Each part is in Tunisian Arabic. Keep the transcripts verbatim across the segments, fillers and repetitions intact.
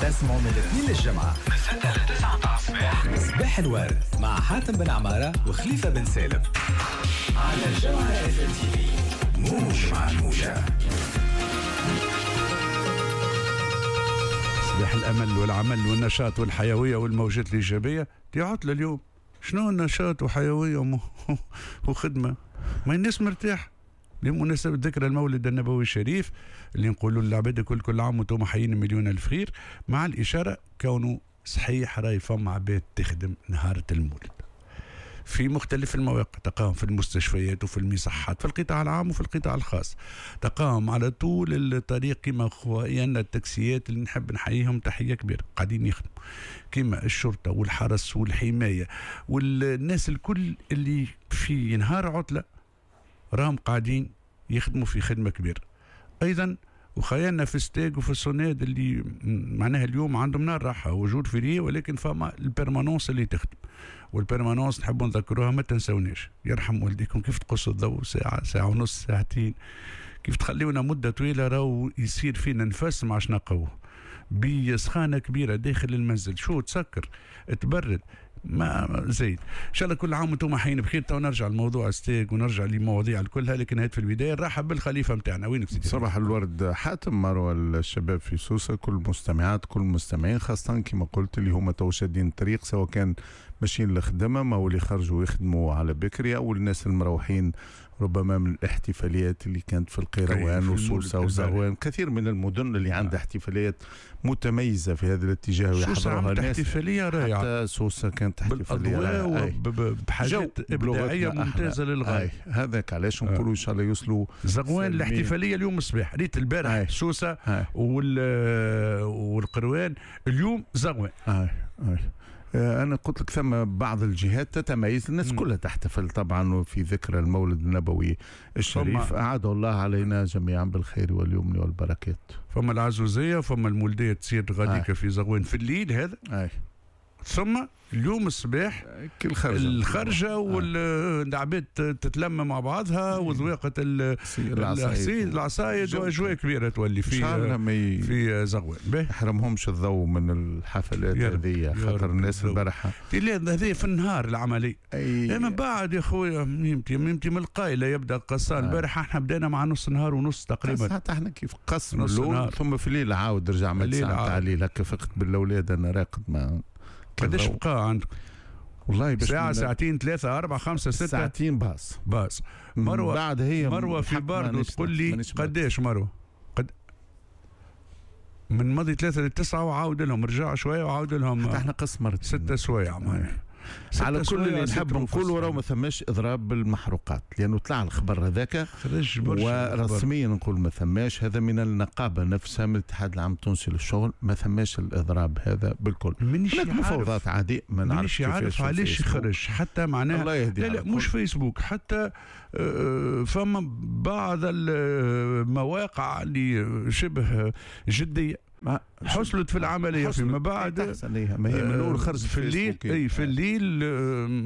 تسمعوا من الاثنين للجمعة من ستة ل تسعة متاع الصباح، صباح الورد مع حاتم بن عمارة وخليفة بن سالم على الجوهرة اف ام تي في، موج مع الموجة. صباح الأمل والعمل والنشاط والحيوية والموجات الإيجابية. دي عطلة اليوم، شنو النشاط وحيوية وخدمة؟ ما الناس مرتاح بمناسبة ذكرى المولد النبوي الشريف اللي نقولوا للعباد كل كل عام وانتم حيين مليون ألف خير، مع الإشارة كونه صحيح راي فما عباد تخدم نهار المولد في مختلف المواقع، تقام في المستشفيات وفي المصحات، في القطاع العام وفي القطاع الخاص، تقام على طول الطريق كما خويانا التاكسيات اللي نحب نحييهم تحية كبيرة قاعدين يخدموا، كما الشرطة والحرس والحماية والناس الكل اللي في نهار عطلة راهم قاعدين يخدموا في خدمة كبيرة. أيضا وخيالنا في الستاج وفي الصوناد اللي معناها اليوم عندهم نار راحة وجود férié، ولكن فما ال permanence اللي تخدم، وال permanence نحبوا نذكروها ما تنسوناش، يرحم والديكم كيف تقصوا الضوء ساعة ساعة ونص ساعتين، كيف تخليونا مدة طويلة راهو يصير فينا نفس ما عادش نقوه بسخانة كبيرة داخل المنزل، شو تسكر تبرد ما زيد. ان شاء الله كل عام وانتم حيين بخير. تو نرجع لموضوع ستيك ونرجع لمواضيع كلها، لكن هات في البداية نرحب بالخليفه نتاعنا. وينك سيدي؟ صباح الورد حاتم، مروه الشباب في سوسة، كل المستمعات كل المستمعين، خاصة كما قلت اللي هما تو شادين الطريق، سواء كان ماشيين للخدمة ما هو اللي خرجوا يخدموا على بكري، او الناس المروحين ربما من الاحتفاليات اللي كانت في القيروان وسوسه وزغوان، كثير من المدن اللي عندها احتفاليات متميزة في هذا الاتجاه ويحضروها الناس. احتفالية رائعة، حتى سوسة كانت احتفالية رائعة بحاجات ابداعية ممتازة للغاية. هذاك علاش نقولوا ان شاء الله يوصلوا زغوان. الاحتفالية اليوم الصباح، ريت البارح سوسة وال والقروان، اليوم زغوان. أي. أي. أنا قلت لك ثم بعض الجهات تتميز، الناس كلها تحتفل طبعا في ذكرى المولد النبوي الشريف، أعاد الله علينا جميعا بالخير واليمن والبركات. فما العزوزية، فما المولدية تصير غاديكا في زغوان في الليل هذا. أي. ثم اليوم الصباح الخرجة, الخرجة والعباد تتلم مع بعضها وذواقة العصيد العصايد وأجواء كبيرة تولي في في زغوان. يحرمهمش الضوء من الحفلات هذه، خاطر الناس البارحة هذه في النهار العملية. من بعد يا خويا ميمتي ميمتي من القايلة يبدا قصان. البارحة احنا بدينا مع نص نهار ونص تقريبا، حتى احنا كيف قص اللون، ثم في الليل عاود رجع من تسعة تاع الليل هكا، فقت بالأولاد أنا راقد. ما قداش بقى عندك؟ والله باش ساعة ساعتين ثلاثة أربعة خمسة ستة ساعتين باص باص. مروة بعد هي مروة في باردو تقول لي قداش مروة؟ قد من ماضي ثلاثة لتسعة وعاود لهم، رجع شوية وعاود لهم. حتى احنا قص مرتين ستة سوايع معناها. على كل اللي نحب نقولوا راهو ما ثماش اضراب بالمحروقات، لانه طلع الخبر هذاك ورسميا نقول ما ثماش، هذا من النقابة نفسها من الاتحاد العام التونسي للشغل، ما ثماش الاضراب هذا بالكل. مانيش مفاوضات عادية، ما نعرفش عارف علاش يخرج حتى معناها. الله يهدي. لا لا مش فيسبوك حتى، فما بعض المواقع اللي شبه جدية حصلت في العملية فيما بعد. ما هي من الاول خرجت في الليل، اي في الليل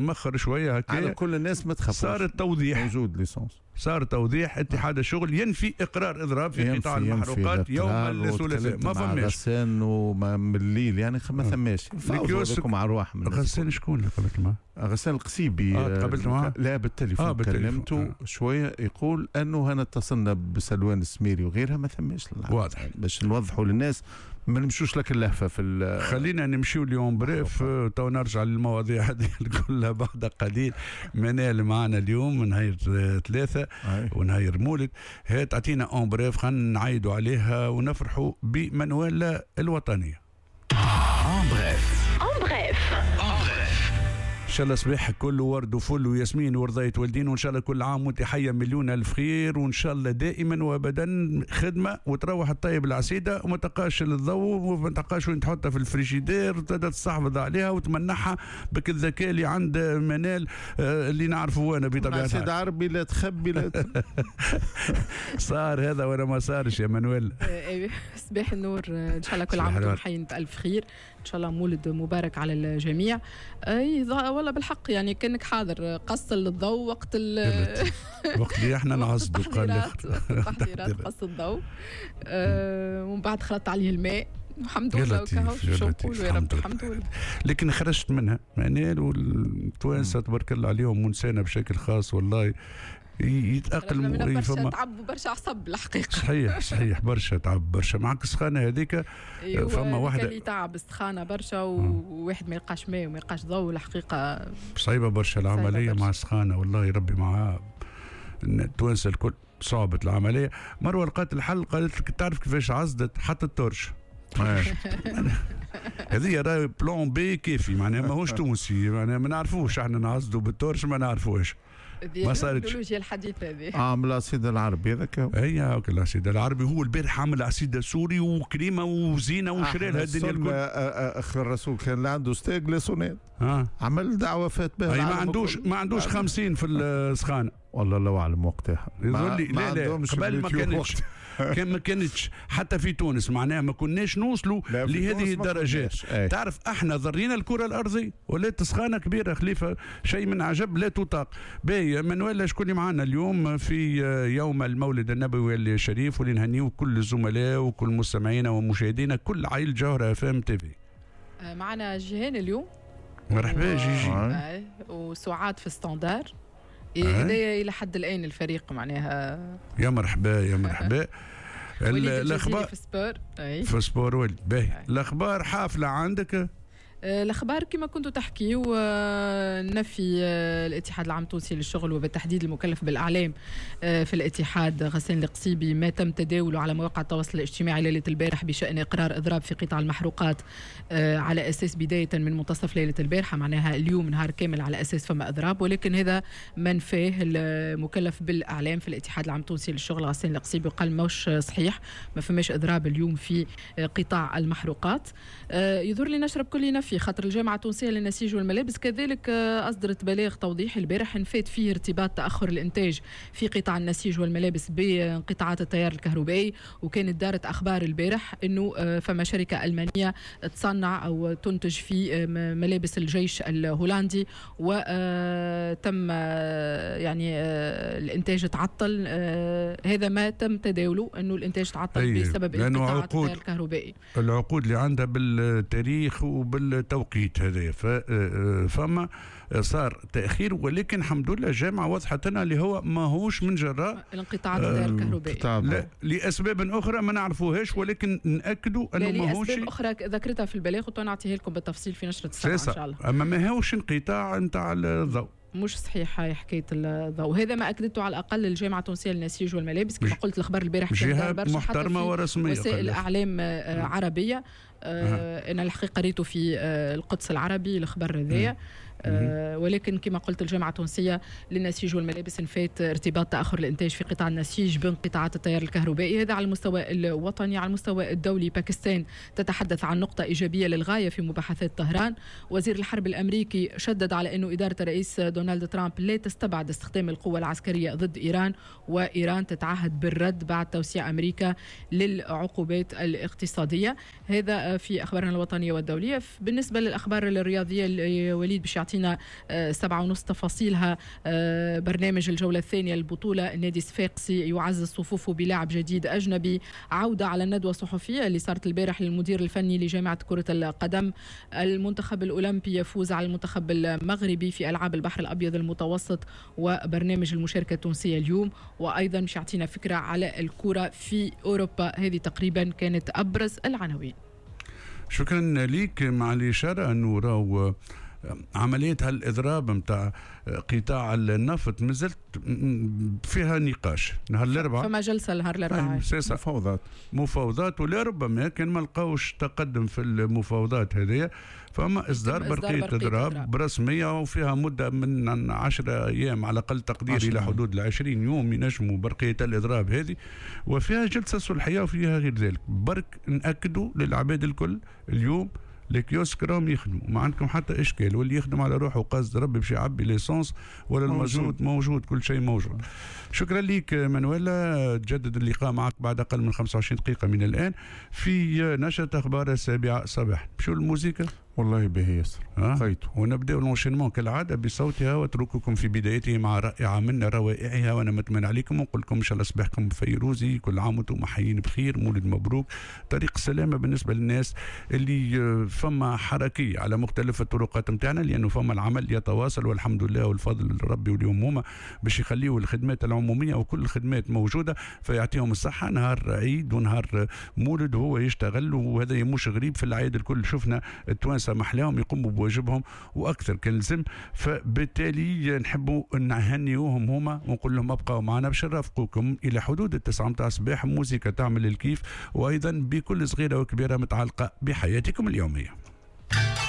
مخر شوية هكا. على كل الناس ما تخافوش، صار التوضيح موجود l'essence، صار توضيح اتحاد الشغل ينفي اقرار اضراب في قطاع المحروقات يوم الثلاثاء. ما فماش غسان وما من الليل يعني ما ثماش. فاوضوا مع ارواحهم. غسان شكون اللي قابلت معاه؟ غسان القصيبي. اه تقابلت معاه؟ لا بالتليفون. آه كلمته آه. شوية، يقول انه انا اتصلنا بسلوان السميري وغيرها ما ثماش. واضح باش نوضحوا للناس ما نمشوش لك اللهفه في. خلينا نمشيو اليوم bref، تو نرجع للمواضيع هذه كلها بعد قليل. منال معنا اليوم نهار ثلاثة ونهار مولد، هي تعطينا en bref، خلينا نعيدوا عليها ونفرحوا بمنوال الوطنية. en bref en bref en bref. ان شاء الله صباحك كله ورد وفل وياسمين ورضاية والدين، وان شاء الله كل عام وانت حيه مليون الف خير، وان شاء الله دائما وابدا خدمة وتروح الطيب العسيده وما تلقاش الضوء وما تلقاش وين تحطها في الفريجيدير وتبدا تستحفظ عليها وتمنحها بك الذكاء اللي عند منال اللي نعرفه انا بطبيعة الحال. سيد عربي لا تخبي لا ت... صار هذا ولا ما صارش يا منوال؟ صباح النور، ان شاء الله كل عام وانتم حيين بالف خير، ان شاء الله مولد مبارك على الجميع. اي والله بالحق يعني كانك حاضر قص الضوء وقت ال وقت اللي احنا نعصدوا قال التحضيرات قص الضوء، أه ومن بعد خلطت عليه الماء. الحمد لله وكهو شو نقولوا يا رب الحمد لله. لكن خرجت منها معناها، والتوانسه تبارك الله عليهم ونسانا بشكل خاص والله يتأقلموا. برشا تعب وبرشا عصب الحقيقة. صحيح صحيح برشا تعب برشا معك السخانه هذيك. أيوة فما واحدة اللي تعب السخانه برشا وواحد ما يلقاش ماء وما يلقاش ضوء الحقيقة صعيبة برشا العملية مع السخانه والله ربي معاه التوانسة الكل صعبت العملية. مروه لقات الحل، قالت لك تعرف كيفاش عزدت حتى ال torche. هذه راهي plan B كيفي معناها ماهوش تونسي معناها ما نعرفوش احنا نعزدوا بال torche ما نعرفوش. ما صارتش التكنولوجيا الحديثة هذه. عامل العصيد العربي هذاك. اي هاك العصيد العربي هو البارح عامل عصيده سوري وكريمه وزينه وشرى لها الدنيا الكل. اخ الرسول كان لا عنده ستاج لا سوناد. آه. عمل دعوه فات بها. اي ما عندوش ما عندوش خمسين في السخانه. والله الله اعلم وقتها. ما لا لا قبل ما كانتش كان ما كانتش حتى في تونس معناها ما كناش نوصلوا لهذه الدرجات. تعرف احنا ضرينا الكره الارضية ولات سخانه كبيرة خليفة شيء من عجب لا تطاق. باهي منوال شكون اللي معنا اليوم في يوم المولد النبوي الشريف واللي نهنيو كل الزملاء وكل مستمعينا ومشاهدينا كل عائلة جوهره اف ام تي في. معنا جيهان اليوم. مرحبا جيجي. وسعاد في standard. هذايا الى حد الان الفريق معناها. يا مرحبا يا مرحبا. الاخبار في sport. أي. في sport ولد باهي. الاخبار حافلة عندك؟ الاخبار كما كنتوا تحكيوا نفي الاتحاد العام التونسي للشغل وبالتحديد المكلف بالاعلام في الاتحاد غسان القصيبي ما تم تداوله على مواقع التواصل الاجتماعي ليلة البارح بشان اقرار اضراب في قطاع المحروقات على اساس بداية من منتصف ليلة البارحة معناها اليوم نهار كامل على اساس فما اضراب، ولكن هذا منفاه المكلف بالاعلام في الاتحاد العام التونسي للشغل غسان القصيبي وقال ماهوش صحيح ما فماش اضراب اليوم في قطاع المحروقات. يظهر لي نشرب كل نفي خاطر الجامعة التونسية للنسيج والملابس كذلك أصدرت بلاغ توضيحي البارح نفات فيه ارتباط تأخر الإنتاج في قطاع النسيج والملابس بانقطاعات التيار الكهربائي، وكانت دارت أخبار البارح أنه فما شركة ألمانية تصنع أو تنتج في ملابس الجيش الهولندي وتم يعني الإنتاج تعطل. هذا ما تم تداوله أنه الإنتاج تعطل بسبب انقطاعات التيار الكهربائي. العقود اللي عندها بالتاريخ وبال التوقيت هذا فما صار تاخير، ولكن الحمد لله الجامعة وضحت لنا اللي هو ماهوش من جراء الانقطاعات التيار الكهربائي، لا لاسباب اخرى ما نعرفوهاش، ولكن ناكدوا انه ماهوش لاسباب اخرى ذكرتها في البلاغ ونعطيها لكم بالتفصيل في نشره السبعة ان شاء الله. اما ماهوش انقطاع نتاع الضوء، مش صحيح هاي حكاية الضوء. هذا ما اكدته على الاقل الجامعة التونسية للنسيج والملابس كما قلت الخبر البارح كان برشا محترمه ورسميه وسائل اعلام عربية. آه انا الحقيقة قريته في آه القدس العربي الخبر هذايا، آه ولكن كما قلت الجامعة التونسية للنسيج والملابس نفات ارتباط تاخر الانتاج في قطاع النسيج بانقطاعات التيار الكهربائي. هذا على المستوى الوطني. على المستوى الدولي باكستان تتحدث عن نقطة ايجابية للغاية في مباحثات طهران. وزير الحرب الامريكي شدد على انه ادارة الرئيس دونالد ترامب لا تستبعد استخدام القوة العسكرية ضد ايران، وايران تتعهد بالرد بعد توسيع امريكا للعقوبات الاقتصادية. هذا في اخبارنا الوطنية والدولية. بالنسبة للاخبار الرياضية وليد باش يعطينا سبعة ونص تفاصيلها. برنامج الجولة الثانية للبطولة، النادي الصفاقسي يعزز صفوفه بلاعب جديد أجنبي. عودة على الندوة الصحفية اللي صارت البارح للمدير الفني لجامعة كرة القدم. المنتخب الأولمبي يفوز على المنتخب المغربي في ألعاب البحر الأبيض المتوسط، وبرنامج المشاركة التونسية اليوم. وأيضا مش يعطينا فكرة على الكرة في أوروبا. هذه تقريبا كانت أبرز العناوين. شكرا لك. مع الإشارة أنه راهو عملية هالإضراب نتاع قطاع النفط مازلت فيها نقاش نهار الأربعاء، فما جلسة نهار الأربعاء مفاوضات مفاوضات ولربما كان ما لقاوش تقدم في المفاوضات هذه فما إصدار برقية إضراب رسمية وفيها مدة من عشرة أيام على أقل تقدير إلى حدود العشرين يوم ينجموا برقية الإضراب هذه، وفيها جلسة صلحية وفيها غير ذلك. برك نأكدوا للعباد الكل اليوم les kiosques راهم يخدموا، ما عندكم حتى اشكال، واللي يخدم على روحه قصد ربي باش يعبي l'essence ولا المازوت موجود، كل شيء موجود. شكرا لك مانويلا، تجدد اللقاء معك بعد اقل من خمسة وعشرين دقيقة من الان في نشره اخبار السابعة صباحا. مشوا الموسيقى. والله باهي ياسر. أه؟ ونبداو l'enchaînement كالعادة بصوتها، واترككم في بدايته مع رائعة من روائعها، وانا متمنى عليكم ونقول لكم ان شاء الله صباحكم فيروزي، كل عام وانتم حيين بخير، مولد مبروك، طريق السلامة بالنسبة للناس اللي فما حركية على مختلف الطرقات نتاعنا، لانه فما العمل يتواصل والحمد لله والفضل لربي واليوم هما باش يخليوا الخدمات العمومية وكل الخدمات موجودة، فيعطيهم الصحة. نهار عيد ونهار مولد هو يشتغل، وهذا مش غريب في العيد الكل، شفنا التوانسة محلاهم يقوموا بواجبهم واكثر كان لزم، فبالتالي نحبوا نهنيوهم هما ونقول لهم ابقوا معنا باش نرافقوكم الى حدود التسعة متاع الصباح، موزيكا تعمل الكيف، وايضا بكل صغيرة وكبيره متعلقه بحياتكم اليومية.